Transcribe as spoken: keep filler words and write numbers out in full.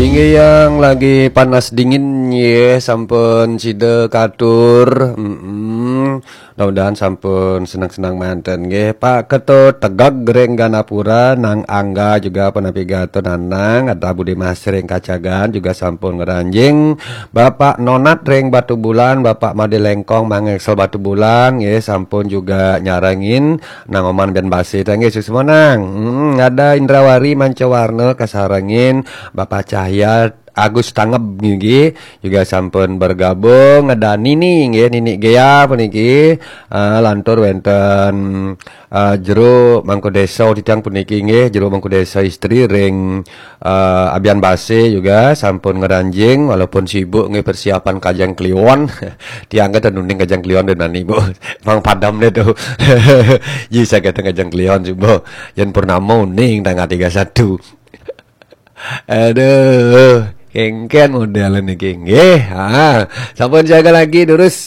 Inggih yang lagi panas dingin ye, sampun sida katur. Mm-mm. Mudah-mudahan sampun senang-senang manten nggih. Pak Ketut Tegeg ring Ganapura, Nang Angga juga penapi gata Nanang, ada Budi Mas ring Kacagan juga sampun ngranjing. Bapak Nonat ring Batubulan, Bapak Made Lengkong Mangeksel Batubulan nggih sampun juga nyarengin. Nang Oman Bian Base ta nggih suksma Nang. Hmm, ada Indrawari Mancawarna kasarengin, Bapak Cahya Agus Tangeb nggih juga sampun bergabung, ada Nini nggih, Nini Gea puniki, ah, lantur wenten, ah, jero Mangku Desa titiang puniki nggih, jero Mangku Desa istri ring, ah, Abian Base juga sampun ngranjing walaupun sibuk nggih persiapan Kajeng Kliwon. Tiang kata nuning Kajeng Kliwon dan nani, Bu. Mang padam deh tuh. Ji saya kata Kajeng Kliwon sih, Bu. Yen Purnama uning tanggal tiga satu. Aduh, kengken model niki nggih. Ha, sampun jaga lagi terus.